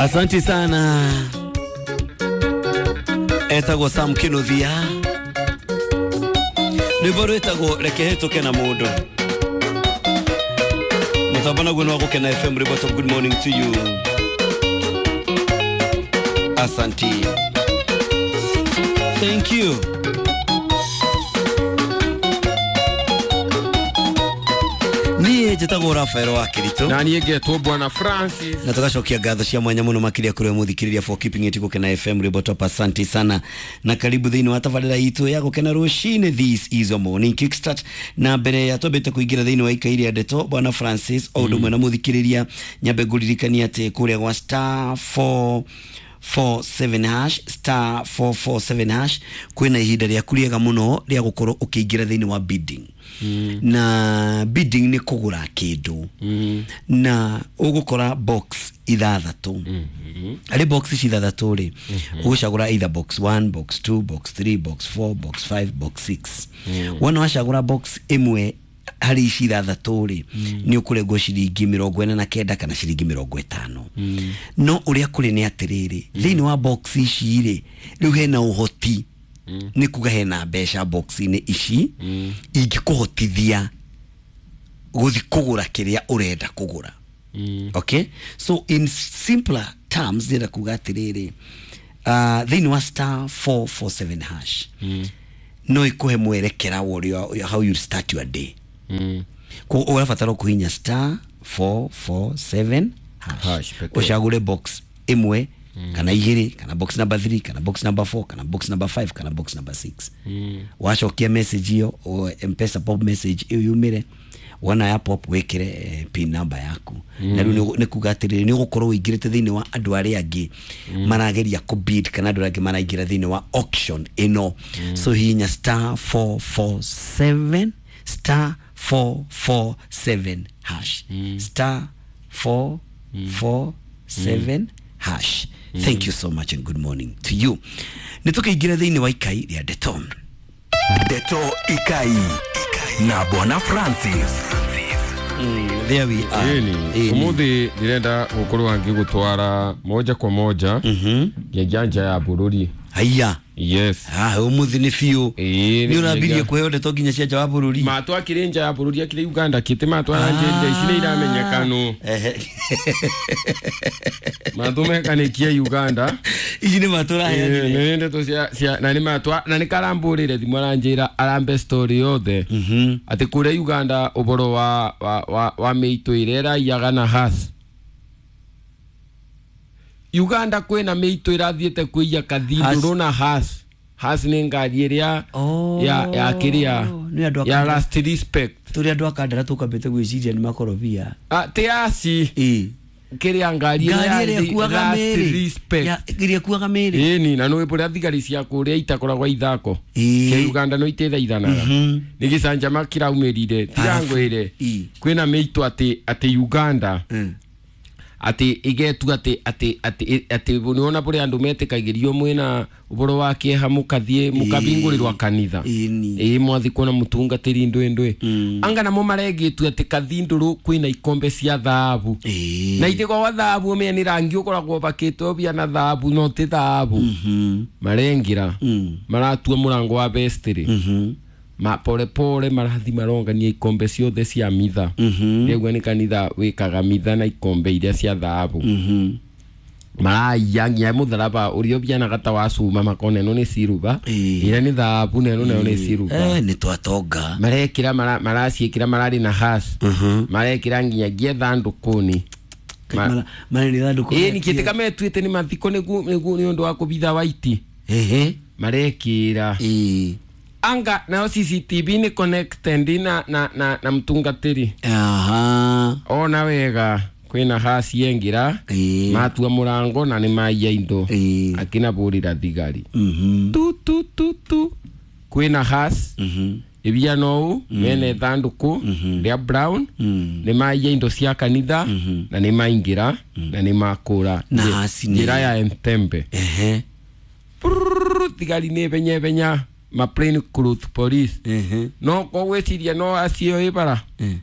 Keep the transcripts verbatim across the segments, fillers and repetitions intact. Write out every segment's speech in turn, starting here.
Asante sana. Etagwo Sam Kinuthia. Rwĩmbo rwĩtagwo Reke Hĩtũke na Mũndũ. Mũtambo naguo nĩ wa Gũkena F M. Rwĩmbo good morning to you. Asante. Thank you. Niĩ njĩtagwo Rafael wa Kirito. Na niĩ ngetwo Bwana Francis. Na tugacokia ngatho cia mwanya mũno makĩria kũrĩ mũthikĩrĩria for keeping it Gũkena F M. Rwĩmbo top. Asante sana. Na karibu thĩinĩ wa tabarĩra itũ ya Gũkena rũcinĩ. This is your morning kickstart. Na mbere ya twambĩte kũingĩra thĩinĩ wa ikai rĩa ndeto, Bwana Francis o ũndũ ũmwe na mũthikĩrĩria, nyambe ngũririkania atĩ kũrĩa gwa star four four seven hash, star four four seven hash, kwĩna ihinda rĩaku rĩega mũno rĩa gũkorwo ũkĩingĩra thĩinĩ wa bidding. Mm. Na bidding nĩ kũgũra kĩndũ. Mm. Na ũgũkora box ithathatũ. Mm -hmm. Harĩ box ici ithathatũ rĩ, mm -hmm. ũgũcagũra either box one, box two, box three, box four, box five, box six. Mm. Wona wacagũra box ĩmwe harĩ ici ithathatũ rĩ, mm. nĩ ũkũrengwo ciringi mĩrongo ĩna na kenda kana ciringi mĩrongo ĩtano. Mm. No ũrĩa kũrĩ nĩ atĩrĩrĩ, mm. thĩinĩ wa box ici rĩ, rĩu hena ũhoti. Mm. Nĩ kuga hena mbeca box-inĩ ici, mm. ingĩkũhotithia gũthi kũgũra kĩrĩa ũrenda kũgũra. Mm. Okay? So in simpler terms ndĩrenda kuga atĩrĩrĩ, uh, thĩinĩ wa star four four seven hash, mm. no ĩkũhe mwerekera wa ũrĩa how you start your day. Mm. Ko ũrabatara kũhinya star four four seven hash, ũcagũre box ĩmwe, mm. kana igĩrĩ, kana box number three, kana box number four, kana box number five, kana box number six. Mm. Wacokia message iyo, o M-Pesa pop message iyo yumire, wana ya pop wikire eh, pin number yaku. Mm. Na rĩu nĩ kuga atĩrĩrĩ, nĩ ũgũkorwo ũingĩrĩte thĩinĩ wa andũ arĩa angĩ, mm. marageria kũ bid kana andũ arĩa angĩ maraingĩra thĩinĩ wa auction ĩno. Mm. So hihinya star four four seven, star four four seven hash. Mm. Star four four seven mm. hash. Mm. Thank you so much and good morning to you. Nĩ tũkĩingĩra thĩinĩ wa ikai rĩa ndeto. Ndeto Ikai na Bwana Francis. Mm, there we are. Ĩni, ũmũthĩ ndĩrenda gũkorwo ngĩgũtwara moja kwa moja nginya nja ya bũrũri. Haiya. Yes. Ah, ũmũthĩ nĩ biũ. Nĩ ũrambirie kũheo ndeto nginya cia nja wa bũrũri. Matwa kĩrĩ nja ya bũrũri akĩrĩ Uganda kĩtĩ matwa nja ici nĩ iramenyekano. Matũmekanĩkie Uganda. Ici nĩ matũra heanire. Nĩ ndeto cia cia na nĩ matwa na nĩ karambũrĩre thimũ aranjĩra arambe story yothe. Atĩ kũrĩa Uganda ũboro wa wa wa mĩitũ ĩrĩa ĩraiyaga na has. Uganda kwĩna mĩitũ ĩrathiĩte kũiya kathindũrũ na has. Has nĩ ngari ĩrĩa ya ya kĩrĩa ya last respect. Tũrĩ andũ a Kandara tũkambĩte gwĩciria nĩ makorobia. Ah, ti aci. Kĩrĩa ngari ĩrĩa last respect. Ĩrĩa ĩkuaga mĩĩrĩ. Ĩni, na nĩ ũrĩa thigari cia kũrĩa itakoragwo ithako. Cia Uganda no itĩthaithanaga. Nĩ gĩcanjama kĩraumĩrire. Tiga ngwĩre. Kwĩna mĩitũ atĩ atĩ Uganda. Ati igetu ati ati ati ati niona buri andu metikagirio mwina uboro wa kieha mukathie mukabingurirwa kanitha ii mwathi kuona mutungatiri ndwe ndwe anga namo maregitu ati kathinduru kwina ikombe cia thahabu na ithigwa wa thahabu umenya ni rangi ukoragwo bakitwo bia na thahabu no ti thahabu marengira maratua murango wa bestiri ma pole pole marathi marongania ikombe ciothe cia mitha. Rĩu nĩ kanitha wĩkaga mitha na ikombe iria cia thahabu. Maraiya nginya mũtharaba ũrĩa ũbianaga ta wa cuma makona ĩno nĩ ciruba, ĩrĩa nĩ thahabu na ĩno nayo nĩ ciruba. Eh, nĩ twatonga. Marekĩra maraciĩkĩra mararĩ na has. Marekĩra nginya ngia thandũkũ-inĩ. Marĩ thandũkũ. Ĩĩ nĩkĩte kametuĩte nĩ mathiko nĩguo nĩ ũndũ wa kũbitha waiti. Ehe. Marekĩra. Ĩĩ. Anga nao C C T V ni connected na na na, na mtungatiri. Aha. Ona wega kwina hasi yengira matua murango na ni maiya indo akina burira thigari. Mhm. Tu tu tu tu kwina has. Mhm. Ibia nou mene thanduku ria brown ni maiya indo cia kanitha na ni maingira na ni makura na hasi ni njira ya Entebbe. Ehe. Thigari ni benye benya ma plain cloth police. Mhm. No ko gweciria no acio ibara. Eh.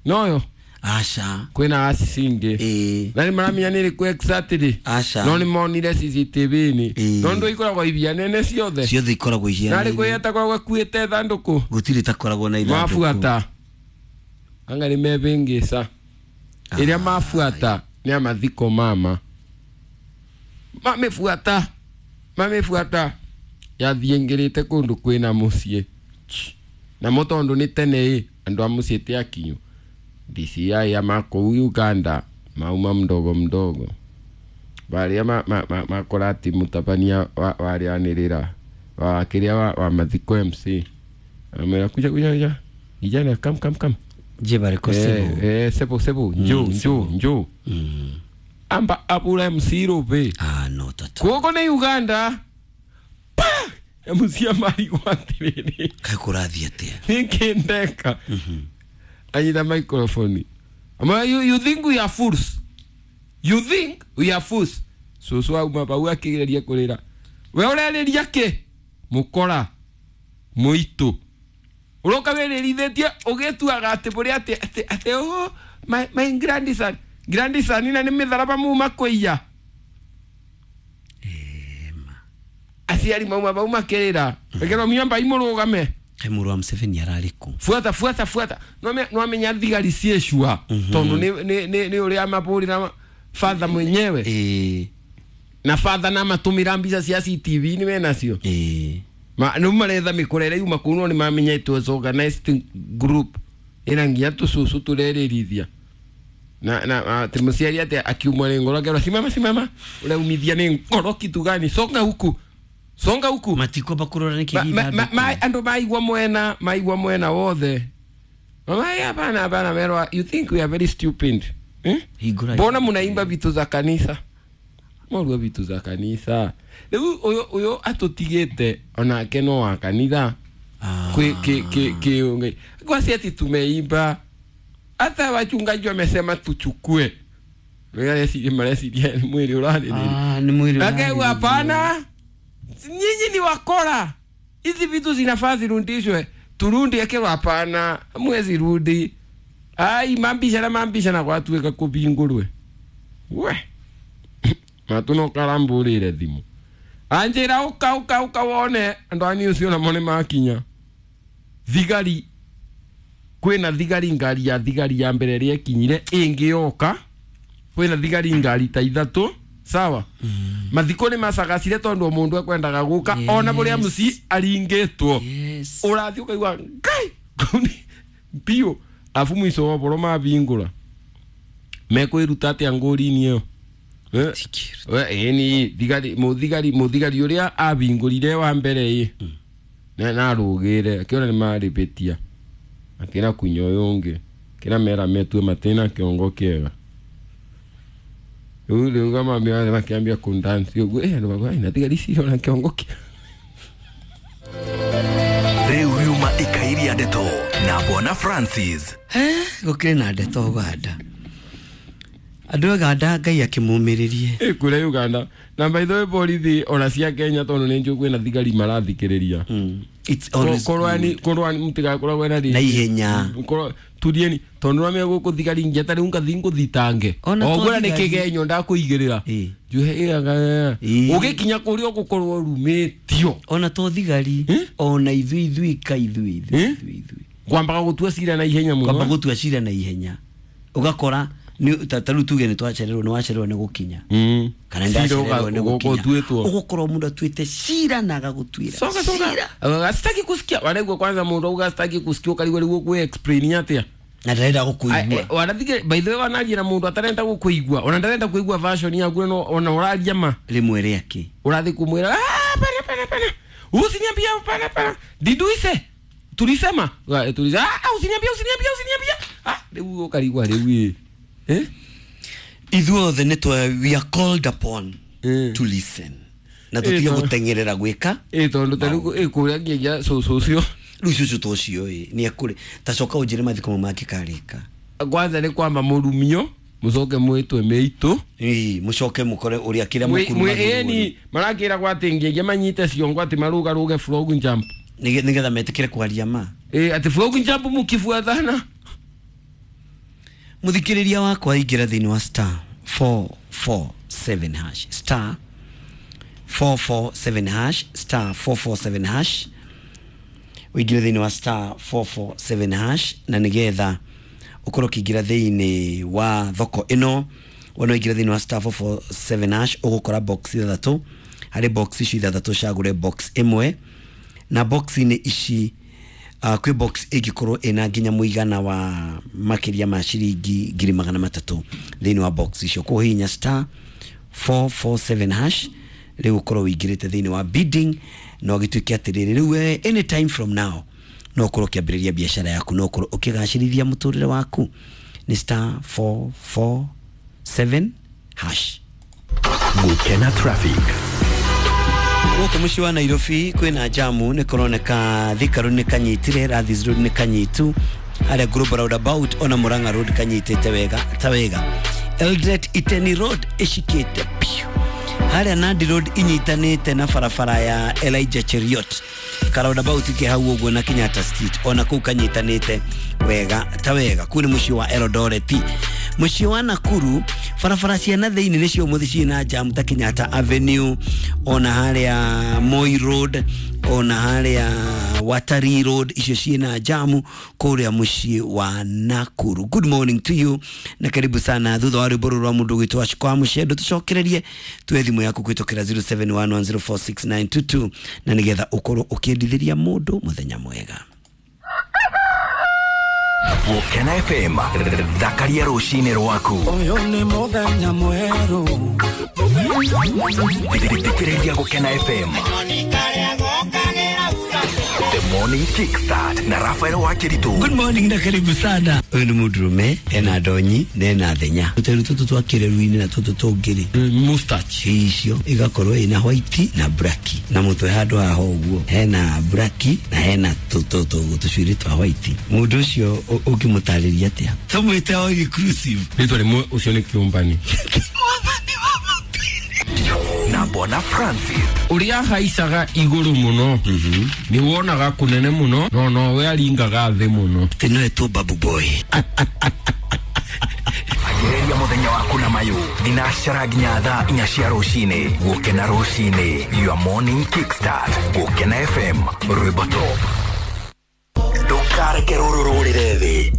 No yo. Aca. Kwina aci Ĩĩ. Na nĩ maramenya nĩ rĩkũ exactly. Aca. No nĩ monire C C T V-inĩ. Ĩĩ. No ndũ ikoragwo ibia nene ciothe. Ciothe ikoragwo ihianaine. Na rĩ kwĩ etakoragwo ekuĩte ithandũkũ. Gũtirĩ takoragwo na ithandũkũ. Mabuata. Anga nĩ mebĩngĩca. Ĩrĩa mabuata nĩ a mathiko mama. Mamĩbuata. Mamĩbuata. Yathiĩ ĩngĩrĩte kũndũ kwĩna mũciĩ. Na mo tondũ nĩ tene ĩ, andũ a mũciĩ ti akinyu. D C I ya makũu Uganda mauma mdogo mdogo. Baria ma ma ma makora ati mutabania wa warianirira wa kiria wa, wa mathiko M C. Amera kuja kuja kuja. Ijana kam kam kam. Je bariko sebo. Eh sebo sebo njo njo njo. Mm. Amba abura M C robe. Ah no tata. Koko ne Uganda. Pa! M C amari gwatiriri. Kai kurathi atia. Nikindeka. Mhm. Anyita microphone. Ama you, you think we are fools? You think we are fools? So so auma bau akigereria kurira. We ureriria ki? Mukora. Muitu. Uroka wererithetie ugetuaga ati buri ati ati ati oh my my grandson. Grandson ina ni mitharaba muma kuiya. Ema. Aciari mauma bau makirira. Ekero miamba imurugame. Kai mũrũ wa Museveni ararĩ kũ? Fuata fuata fuata. No me no amenya thigari ciecua. Tondu ni ni ni ni uria mabũrira father mwenyewe. Eh. Na father na matumira mbica cia C C T V ni wenacio. Eh. Ma no maretha mikorere yuma kuu no ni mamenya it was organized group. Ina nginya tucucu turererithia. Na na ati muciari ati akiumwa ni ngoro akerwo simama simama. Uraumithia ni ngoro kitu gani? Songa huku. Songa huku. Matikomba kurora niki Ma, ma, ma, andu maigua mwena, maigua mwena wothe. Mama hapana hapana merwa, you think we are very stupid. Eh? Mbona munaimba vitu za kanisa? Morwa vitu za kanisa. Riu uyo uyo atutigite onake no wa kanitha. Ah. Kwi ki ki ki unge. Kwa si ati tumeimba. Hata wachungaji wamesema tuchukue. Wewe si maresiria ni mwili urani. Ah, ni mwili urani. Lakini hapana. Nyinyi ni wakora. Hizi vitu zinafaa zirudishwe. Turundi yake hapana, mwezi rudi. Ai mambisha na mambisha na gwatuika kubingurwe. We. Matuno karambulire thimu. Anjira uka uka uka wone andu ani ucio na mone makinya. Thigari kwina thigari ngari ya thigari ya mbere ria kinyire ingi yoka. Kwina thigari ngari ta ithatu. Sawa. Mm. Mathiko ni macagacire tondu mundu ekwendaga guka yes. Ona buria muci aringitwo. Yes. Urathi ukaigua ngai bio afu mwico wa boro mabingura mekwiruta atia ngũri-inĩ ĩyo. Eh ni thigari muthigari muthigari uria abingurire wa mbere ĩ na narugire akiona ni maribetia akina kunya uyu ungi kina mera metue matena kiongo kiega. Ule kama mimi makiambia kundansi ugu eh ndo bagwa ina thigari icio na kiongo kiega. Riu riuma ikairia ndeto na Bwana Francis. Eh gukire na ndeto Uganda. Andu Uganda Ngai akimumiririe. Eh kure Uganda na by the way borithi ona cia Kenya tondu ni njui kwina thigari marathikiriria. Mm. It's always korwani korwani mutigakoragwo na na ihenya. Turieni tondu ramia guku thigari ngia tari ungathi nguthitange. Ogura ni kigenyo ndakuigirira. Njuhe iraga. Ugikinya kuria ugukorwo rumitio. Ona to thigari ona ithui ithui ka ithui ithui ithui. Kwambaga gutua cira na ihenya muno. Kwamba gutua cira na ihenya. Ugakora ni taru tuge ni twacererwo ni wacererwo ni gukinya. Mm. Kana ndacererwo ni gukinya. Ugukorwo mundu atuite cira na agagutwira. Songa songa. Sitaki kusikia. Wanaigua kwanza mundu uga sitaki kusikia ukarigwa rĩu ku explain atia. Na ndarenda gukuigua. Wanathige by the way wanaria na mundu atarenda gukuigua. Ona ndarenda kuigua version yaku no ona uraria ma. Rimwe riake. Urathi kumwira ah pana pana pana. Usiniambia pana pana. Did we say? Tulisema. Tulisema ah usiniambia usiniambia usiniambia. Ah rĩu ukarigwa rĩu. Eh? Ithuothe nĩ twa we are called upon eh. to listen. Na tutige gutengerera gwika. Eh tondu taru eh kuria nginya cucu ucio. Riu cucu to ucio ĩ ni ekuri ta coka unjire mathiko make karika. Kwanza ni kwamba murumio mucoke mwitwe meitu. Ii mucoke mukore uria kiria mukuru. Mwe ni marakira gwati nginya manyite ciongo ati maruga ruge frog jump. Nigetha metikire kwaria ma. Eh ati frog jump mukifuathana. Muthikiriria wakwa ingira thiini wa star four four seven hash, star four four seven hash, star four four seven hash, uingire thiini wa star four four seven hash, na nigetha ukorwo ukiingira thiini wa thoko ino. Wona waingĩra thĩinĩ wa star four four seven hash ũgũkora box ithathatũ. Harĩ box icio ithathatũ cagũre box ĩmwe, na box-inĩ ici uh, kwĩ box ĩngĩkorwo ĩna nginya mũigana wa makĩria ma ciringi ngiri magana matatũ thĩinĩ wa box icio. Koguo hihinya star four four seven hash rĩu ũkorwo wĩingĩrĩte thĩinĩ wa bidding, na ũgĩtuĩke atĩrĩrĩ rĩu we anytime from now no ũkorwo ũkĩambĩrĩria biacara yaku, no ũkorwo ũkĩgacĩrithia mũtũrĩre waku. Nĩ star four four seven hash. Gukena traffic. Gũkũ mũciĩ wa Nairobi kwĩna jamu, nĩ kũroneka Thika Road nĩ kanyitire, Rathis Road nĩ kanyitu, harĩa Global Roundabout ona Murang'a Road kanyitĩte wega ta wega. Eldoret Iteni Road ĩcikĩte piũ, harĩa Nandi Road inyitanĩte na barabara ya Elijah Cheriot, ka roundabout ke hau ũguo na Kenyatta Street ona kũu kanyitanĩte wega ta wega. Kũu nĩ mũciĩ wa Eldoret. Mũciĩ wa Nakuru barabara cia na thĩinĩ nĩcio ũmũthĩ ciĩna jam ta Kenyatta Avenue, ona harĩa Moi Road, ona harĩa Watari Road, icio ciĩna jamu kũrĩa mũciĩ wa Nakuru. Good morning to you na karibu sana. Thutha wa rwĩmbo rũrũ rwa mũndũ ũgwĩtwo Wachukwa wa Mũcendo, tũcokererie tuwe thimũ yaku kwĩtũkĩra zero seven one one zero four six nine two two na nĩgetha ũkorwo ũkĩendithĩria mũndũ mũthenya mwega. Gukena F M thakaria rũcinĩ rwaku. Ũyũ nĩ mũthenya mwerũ. Thikĩrĩria Gukena F M. The Morning Kickstart na Rafael Wakiritu. Good morning na karibu sana. Ũyũ nĩ mũndũrũme ena ndonyi na ena thenya. Tũteru tũtũ twa kĩreru-inĩ na tũtũ tũngĩ-rĩ, mustache icio igakorwo ina white na black, na mũtwe handũ haha ũguo hena black na hena tũcuĩrĩ twa white. Mũndũ ũcio ũngĩmũtarĩria atĩa? Tũmwĩte o exclusive. Rĩtwa rĩmwe ũcio nĩ kĩũmbani. Na Bwana Francis. Ũrĩa haicaga igũrũ mũno, nĩ wonaga kũnene mũno, no nowe aringaga thĩ mũno. Atĩ no etwo Babu Boy. Anjĩrĩria mũthenya waku na mayũ thinacara nginya thaa inya cia rũcinĩ. Gũkena rũcinĩ, your morning kickstart. Gũkena F M, rwĩmbo top. Ndũkareke rũrũ rũrĩre thĩ.